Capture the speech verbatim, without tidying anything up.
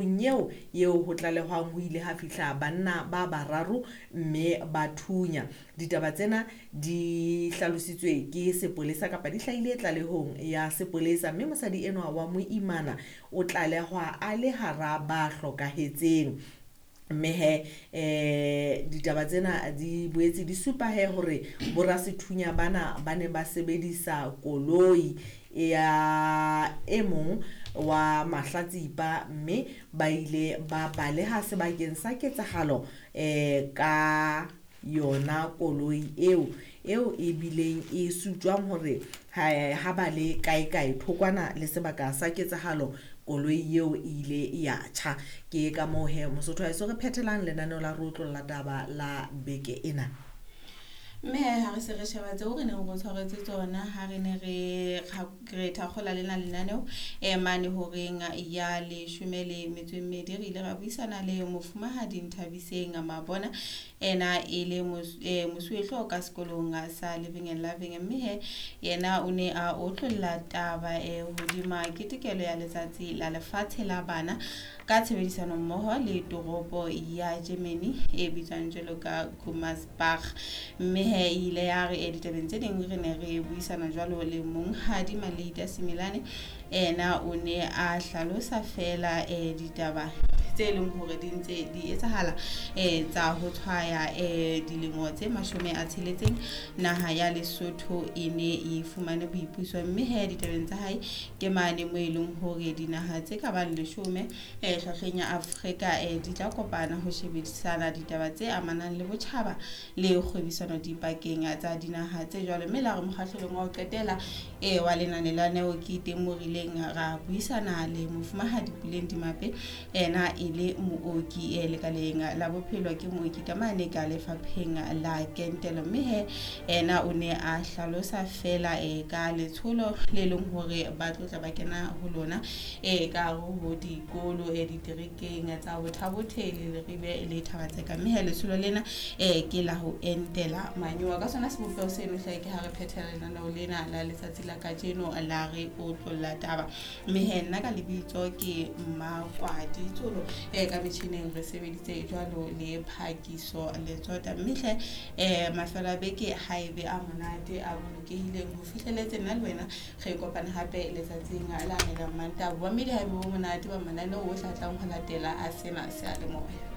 Eo eo ho tlalehwang ho ile ha fihla banna ba bararo mme ba thunya. Ditaba tsena di hlalositswe ke sepolesa kapa di hlahile tlalehong ya sepolesa, mme mosadi enwa wa moimana o tlalehwa a le hara ba hlokahetseng. Mme he eh ditaba tsena di boetse di supa he hore borasethunya bana ba ne ba sebedisa koloi ya e mong wa mahlatsipa, mme ba ile ba baleha sebakeng sa ketsahalo eh ka yona koloi eo eo e bileng e sutjwang hore ha ba le kae kae thokwana le sebaka sa ketsahalo koloi eo e ile ya tjha. Ke ka moo he Mosotho wa heso re phethelang lenaneo la re otlolla taba la beke ena. Mme ha re se re sheba tseo re neng re tshwaretse tsona ha re ne re re thakgola lena lenaneo e mane horeng ya leshome le metso e mmedi, re ile ra buisana le mofumahadi Nthabiseng Mabona, ena e le mosuwehlooho ka sekolong sa Living and Loving. Mme he yena o ne a otlolla taba e hodima ketekelo ya letsatsi la lefatshe la bana ka tshebedisano mmoho le toropo ya Germany e bitswang jwalo ka Gummersbach. Mme he ile ya re ditabeng tse ding re ne re buisana jwalo le monghadi Malita Similane, ena o ne a hlalosa fela eh ditaba tse leng hore di ntse di etsahala eh tsa ho tshwaya eh dilemo tse mashome a tsheletseng naha ya Lesotho e ne e fumane boipuso. Mme he ditabeng tsa hae ke mane mo e leng hore dinaha tse ka bang leshome eh hlahleng ya Afrika eh di tla kopana ho shebisana ditaba tse amanang le botjhaba le kgwebisano dipakeng tsa dinaha tse jwalo. Mme la re mokgahlelong wa ho qetela eh wa lenane la neo ke teng mo rileng ra buisana le mofumahadi Puleng Dimape, ena e le mooki e lekaleng la bophelo, ke mooki ka mane ka lefapheng la kentelo. Mme he ena o ne a hlalosa fela e ka letsholo le leng hore ba tlotla ba kena ho lona e ka ho dikolo e diterekeng tsa Botha-Bothe le Leribe le Thaba-Tseka. Mme he letsholo lena e ke la ho entela manyowa. Ka sona sebopeho seno hle ke ha re phethela lenaneo lena la letsatsi la kajeno la re otlolla taba. Mme he nna ka lebitso ke Mmakwadi Tsolo, e ka metjhineng re sebeditse jwalo le Phakiso Letsota. Mme hle eh mafelo a beke ha ebe a monate a bolokehileng ho fihleletse nna le wena re kopana hape letsatsing la ne la Mantaha. Bommedi ha ebe bo monate ba mananeo ohle a tlang ho latela a sena seyalemoya.